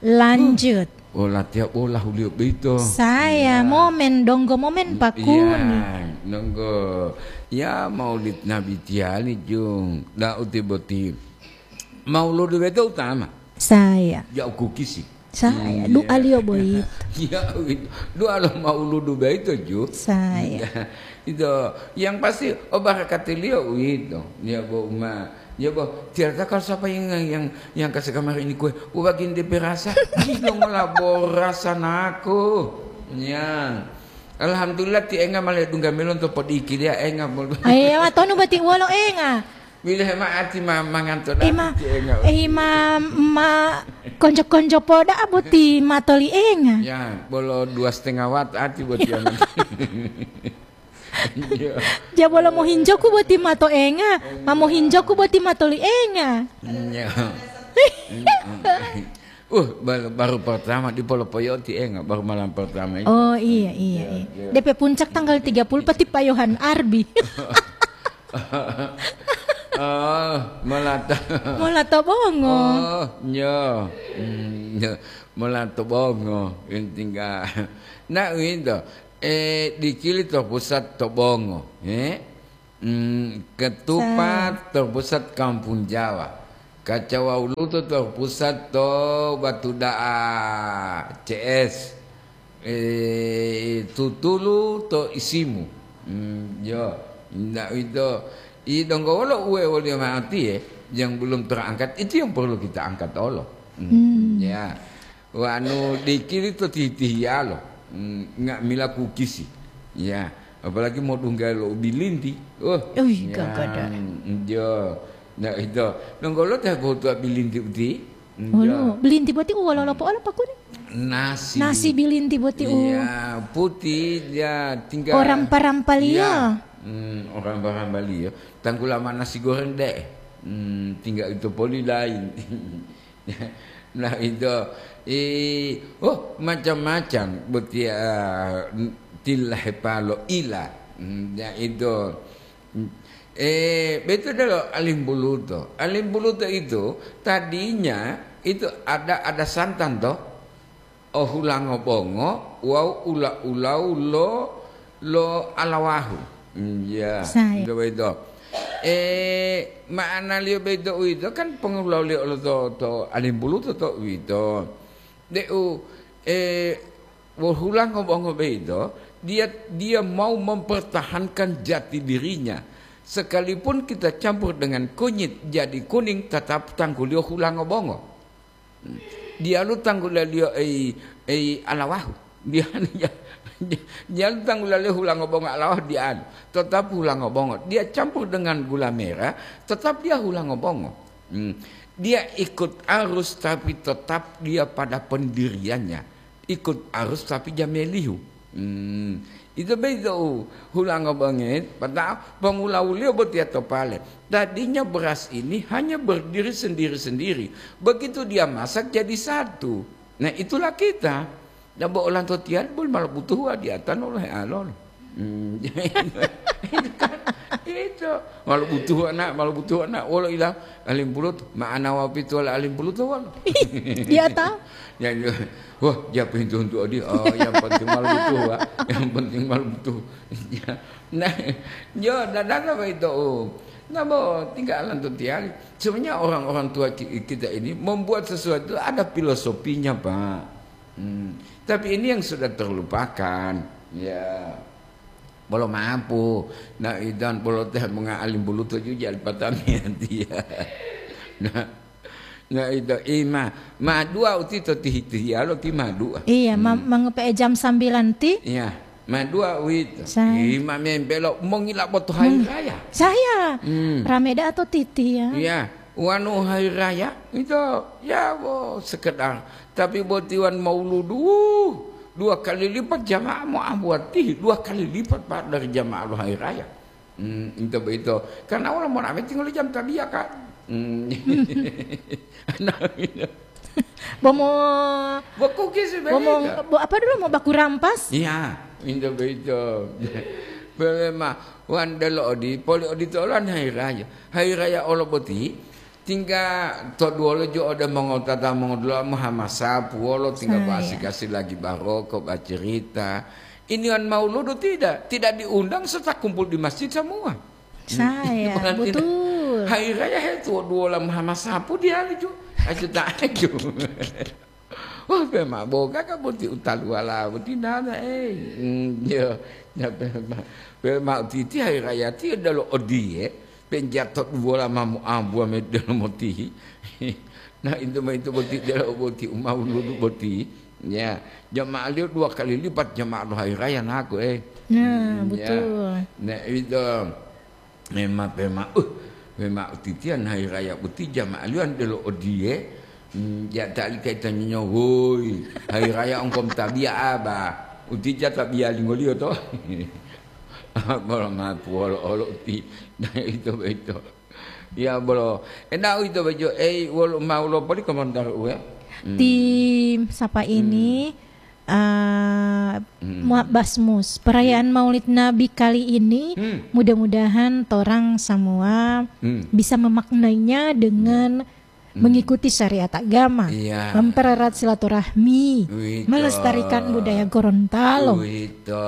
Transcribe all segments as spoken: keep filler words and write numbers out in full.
Lanjut. Oh, latiya bola huliyo boyito. Saya momen, donggo momen pakuni. Iya, donggo. Ya, Maulid Nabi tiyali, Jung. Da'u ti boti. Mauludu boyito utama. Saya. Ya, ukukisi. Saya. Iya. Du'aliyo boyito. Ya, du'a lo mauludu boyito, Ju. Saya. Iya. Itu. Yang pasti, oh, barakatiliyo uwito. Ya, bo, uma. Ya, bo, tiada tahu kalau siapa yang, yang, yang kasih kamar ini kue, ubagin D P rasa. Gino ngola borasa naku. Ya. Alhamdulillah, ti enga male dungga melon to podiki dia enga mol. Aye, watonu bati wolo enga. Bila ma ati ma manganto. Ima, ti enga. Ima, ma konjo-konjo poda boti matoli enga. Ya, bolo dua setengah watt ati boti. Iya. Jabolo mohinjoku boti mato enga, ma mohinjoku boti matoli enga. Iya. Uh, baru, baru pertama di Polo Poyoti enga, baru malam pertama itu. Oh, iya, iya, iya. Iya. D P puncak tanggal tiga puluh peti payohan Arbi. Oh, Molato. Molato Bongo. Oh, iya. Hmm, iya. Molato Bongo, intingga. Nah, itu. Eh, dikili terpusat to Bongo, eh? Hmm, ketupat terpusat Kampung Jawa. Kacawa Uluto terpusat to Batu Da'a C S. Eh, tutulu to isimu. Hmm, yo, ndak itu. I donggo wolo uwe woliyo ma'ati, eh, yang belum terangkat, itu yang perlu kita angkat olo. Hmm, ya. Wanu dikili to tihi-tihiyalo, mm, nga'amila kukisi. Ya, apalagi modungga lo bilinti. Oh, wih, ya, gagada. Mm, jo. Nah, itu. Nonggolo teh botua bilinti uti? Mm, jo. Wanu, bilinti boti u wolo lopo olo pakuni? Nasi. Nasi bilinti boti u. Iya, putih, ya, tinggal. Orang parampaliyo. Ya. Mm, orang parampaliyo. Tanggula ma nasi goreng deh. Mm, tinggal itu poli lain. Nah, itu, eh, oh, macam-macam botiya, eh, tilahepalo ila. Hmm, ya, itu. Eh, betul deh lo Alim Buluto. Alim Buluto itu tadinya itu ada, ada santan toh. Oh, hulango bongo wawu ula-ulau lo, lo alawahu. Hmm, ya. Saya. Itu, itu. Eh, ma'analiyo boyito uwito kan pongulawuliyo olo to, to Alim Buluto to uwito. De'u, eh, wohulango bongo boyito, dia, dia mau mempertahankan jati dirinya. Sekalipun kita campur dengan kunyit jadi kuning, tetap tangguliyo hulango bongo. Diyalu tanggulaliyo ei, ei alawahu. Diyalu, diyalu tanggulaliyo hulango bongo alawahu diyalu. Tetap hulango bongo. Dia campur dengan gula merah, tetap dia hulango bongo. Hmm. Dia ikut arus, tapi tetap dia pada pendiriannya. Ikut arus, tapi jamelihu. Hmm. Itu begitu, hulango bongo, padahal pongulawuliyo botiya to pale. Tadinya beras ini hanya berdiri sendiri-sendiri. Begitu dia masak jadi satu. Nah, itulah kita. Nah, bo olanto tiyali boli ma lobutuhuwa di atano lo healolo. Hmm, itu kan, itu. Ma lobutuhuwa na, ma lobutuhuwa na. Wolo ila Alim Buluto, ma'ana wawu pituwala Alim Buluto wolo. Iya, ta? Ya, ya. Wah, dia pintu untuk dia. Oh, yang penting ma lobutuhuwa. Yang penting ma lobutuhuwa. Ya. Nah, yo, dadana boyito, oh. Nah, bo, tinggal lantu tiyali. Sebenarnya orang-orang tua ki-, kita ini membuat sesuatu ada filosofinya, Pak. Hmm. Tapi ini yang sudah terlupakan. Ya. Bolo mapu. Nah, idan bolo teh menga Alim Buluto ju jali patamiyan dia. Nah, nah, itu ima. Ma dua uti to tihi-, tihiyalo ti ma dua. Iya, ma-, hmm, mangope'e jam sambilan ti? Iya. Ma dua uwito. Saya. Ima mempelo mongila boto hari raya. Saya. Hmm. Rame da'a to titi ya. Iya. Wanu hari raya itu ya, wo, sekedar. Tapi botiwan mauludu, dua kali lipat jamaah mau ambuati, dua kali lipat, Pak, dari jamaah hari raya. Hmm, itu begitu. Karena wala mau rame tinggal jam tabiya, Kak. Hmm. Nah, itu. Bomo, Bo kukis bomo, beda. Bo apa dulu, mau baku rampas? Iya, itu begitu. Bele ma, wan delo odi, poli odi tolan hari raya. Hari raya olo boti, Tingga to duwolo jo ode mongotata mongodula'a mohamasapu wolo tingga Saya. Basi-kasi lagi baroko, bacerita. Ini wan mauludu tidak, tidak diundang serta kumpul di masjid semua. Saya, Berarti betul. Hari raya he tuwo duwola mohamasapu diali jo. Aja tak aja. Wah, pe ma boga ka boti utaluwala boti nana, eh. Hmm, yo, ya pe ma, pe ma titi hari raya ti dalo odiye, penjato duwola mamu ambuwa medelo motihi. Nah, itu ma itu boti delo boti umawuludu boti. Ya, jama'aliyo dua kali lipat jamaah lo hari raya naku, eh. Nah, Hmm, ya. Betul. Nah, itu. Mema-, pema-, uh, mema utitiya hari raya boti jama'aliyo delo odiye, mm, ya tali kaitannya, woi, hari raya ongkom tabiya aba, utija tabiya lingoliyo to. Bolo mapu olo-olo uti, nah, itu, itu. Ya, bolo, enggak itu bejo, eh, wolo mau lo poli komentar uwe. Hmm. Tim sapa Hmm. ini? Ah, Hmm. Muhammad Basmus, perayaan Maulid Nabi kali ini Hmm. mudah-mudahan torang semua Hmm. bisa memaknainya dengan Hmm. mengikuti syariat agama, Iya. mempererat silaturahmi, Wito. Melestarikan budaya Gorontalo. Wito.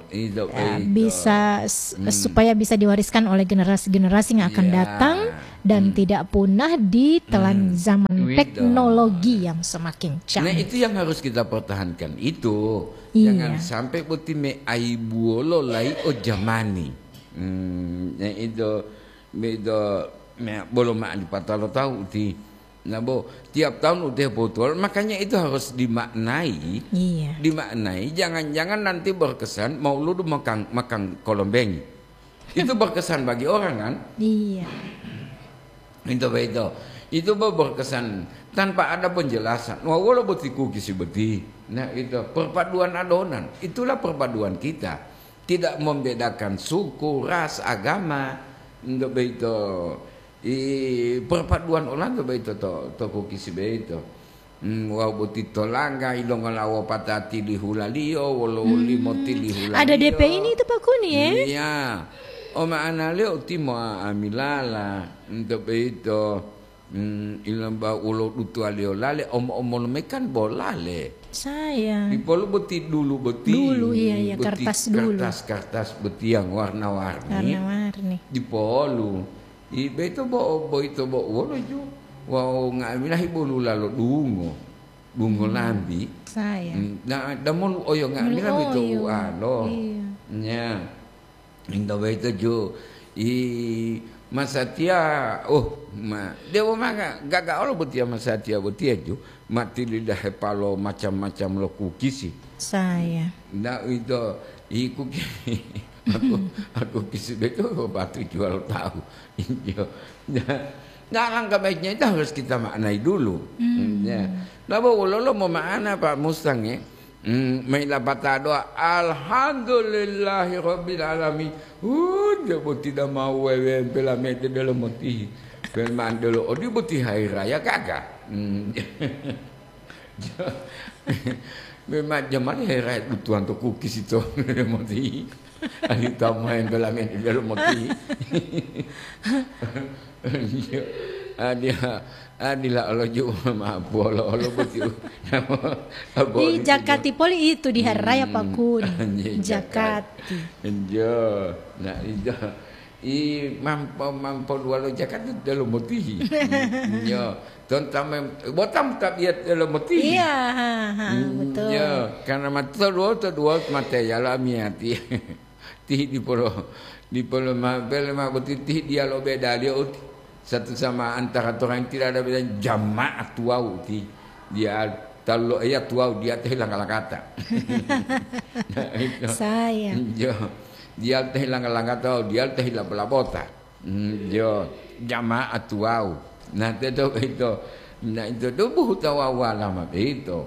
Itu, Ya, itu. Bisa s-, Hmm. supaya bisa diwariskan oleh generasi-generasi yang akan Iya. datang dan Hmm. tidak punah ditelan Hmm. zaman Wito. teknologi yang semakin Nah, canggih. Itu yang harus kita pertahankan itu. Iya. Jangan sampai boti me aibuwolo lai o jamani. Hmm, nah itu, itu me bolo ma dipatalo tahu uti. Nah, bo, tiap tahun uti potual, makanya itu harus dimaknai. Iya. Dimaknai, jangan-jangan nanti berkesan mauludu makan, makan kolombengi. Itu berkesan bagi orang, kan? Iya. Itu begitu. Itu be-, berkesan tanpa ada penjelasan. Wah, wolo boti kukisi boti. Nah, itu perpaduan adonan. Itulah perpaduan kita. Tidak membedakan suku, ras, agama. Untuk begitu, i, perpaduan olanto begitu to, to kukisi begitu. Hmm, wau boti tolangga, ilongola wopatati lihulaliyo, wolo Hmm. limo tilihulaliyo. Ada D P ini itu, Pak Kuni, ya? Iya. O ma'analiyo uti mo'a'amilala, ento boyito, hmm, ilamba wolo dutuwaliyo lale, omo-omolu me kan bo lale. Saya. Dipolu boti dulu boti, Dulu, iya, iya, boti kertas dulu. Kertas-kertas boti yang warna-warni. Warna-warni. Dipolu. I beto bo-, boyito bo wolo ju. Wawu nga'amila hibolula lo dungo, dungo Hmm. lambi. Saya. Hmm, na, damolu oyo nga'amila Mulu beto oyo. Ualo. Iya. Nya. Inta boyito ju. I masatiya, oh, ma, dewo manga gaga olo botiya masatiya botiya ju. Mati lidahe palo macam-macam lo kukisi. Saya. Nda uwito, i kuki-, aku, aku kisi beto batu jual tahu. Iya. Nah, nah, langkah baiknya itu harus kita maknai dulu. Hmm. Ya. Nabo wololo mo ma'ana, Pak Mustang, ya? Hmm, maila pata doa, "Alhamdulillahirabbil alamin." Uh, dia bo tidak mau wewe pelamete dalam moti. Peman dulu, oh, dia boti hari raya kagak? Hmm. Memang jamani herat butuhan to kukis ito moti. Ayu tamain belamen belo moti. Adia, adila olo ju ma polo olo boti. Di Jakati poli itu di hari raya Pakun. Jakati. Enjo. Nah, itu. I mampo, mampo dua lo Jakati delo motihi. Yo, tontame botam tabiat delo motihi. Iya, ha, ha, betul. Yo, karena mati to dua, to dua mate ya la miati. Tihi di polo, di polo ma, bele ma boti tihi dia lo beda dia uti. Satu sama antara orang tidak ada beda jamaah tuau uti. Dia talu lo iya tuau dia teh langka-langkata. Nah, itu. Saya. Yo, dia teh langka-langkata, dia teh labo-labota. Hmm, yo, jamaah tuwau. Nah, teto boyito, nah, ito dubuhu tawawu alama boyito.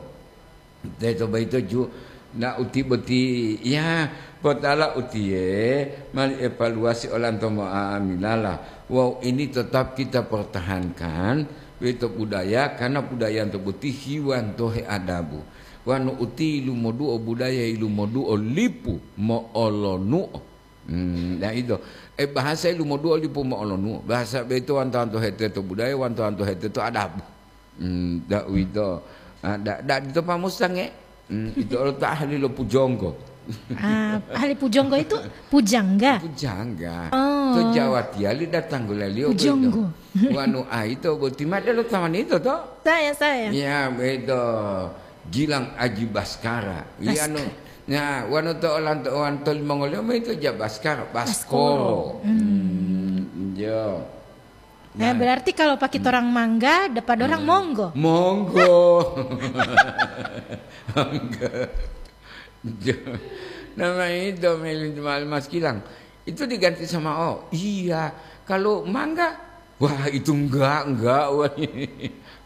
Teto boyito ju, nah, uti boti, ya, potala utiye, mali evaluasi olanto mo'amilala. Wawu ini tetap kita pertahankan, boyito budaya, karena budayanto boti hiwanto headabu. Wanu uti ilumoduo budaya, ilumoduo lipu mo'olonuo. Hmm, nah ito. Eh, bahasa lumodua lipu mo'olonuo. Bahasa beto wanto-wanto hete to budaya, wanto-wanto hete to adabu. Hmm, da uwito. Ah, da, da dito pamusange. Hmm, ito olo ta ahli lo pujonggo. Ah, ahli pujonggo itu pujangga? Pujangga. Oh. To Jawa tiyali datang gulaliyo Pujonggo. Beto. Wanu aito boti made lo tamanito to? Saya, saya. Ya, beto. Gilang Aji Baskara. Iya, anu, Baskara. Nah, wanu to olanto, wanto limongoliyo ma ito ja Baskara, Baskoro. Baskoro. Hmm. Hmm, iya. Nah, berarti kalau pakai orang mangga, depan orang monggo. Monggo. Mangga. Iya. Nama itu, Meli, Mas Gilang. Itu diganti sama O. Iya, kalau mangga, wah, itu enggak, enggak, wah.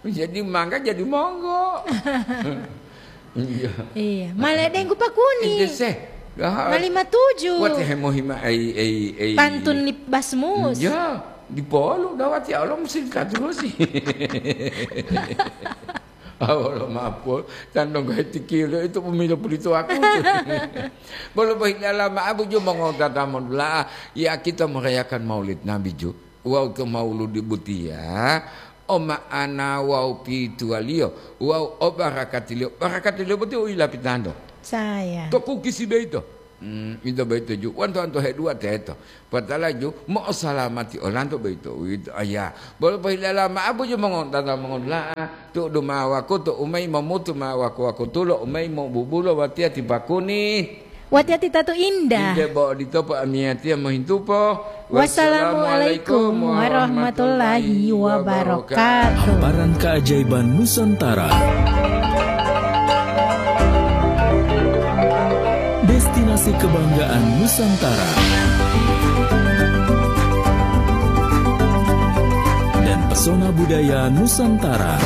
Jadi mangga jadi monggo. Iya. Iya, male denggu pakuni. Ente se. Mali matuju. Wati hemohima ei, ei, ei. Pantun li Basmus. Iya, di polu dawati Allah mesti dikaturusi. Awalo mapol, tandong heti kilo itu pemilo pulito aku. Bolo bohilala ma'abu ju mongotata modula'a, ya kita merayakan Maulid Nabi ju. Wawu to mauludi botiya, o ma'ana wawu pituwaliyo wawu o barakatiliyo, barakatiliyo boti u yilapitanto. Saya. To kukisi boyito. Hmm, ito boyito ju. Wanto-wanto heduwa teto. Patala ju, mo'osalamati olanto boyito. Uwito, aya. Bolo pohilala ma'abu ju mongontata mongodula'a. Tu'udu ma'o wakutu umayi momutu ma'o waku-wakutulo umayi mobubulo watiya ti pakuni. Watiya ti tatu indah. Inde bo odito po amiyatiya mohintupo. Wassalamualaikum warahmatullahi wabarakatuh. Hamparan keajaiban Nusantara. Destinasi kebanggaan Nusantara. Dan pesona budaya Nusantara.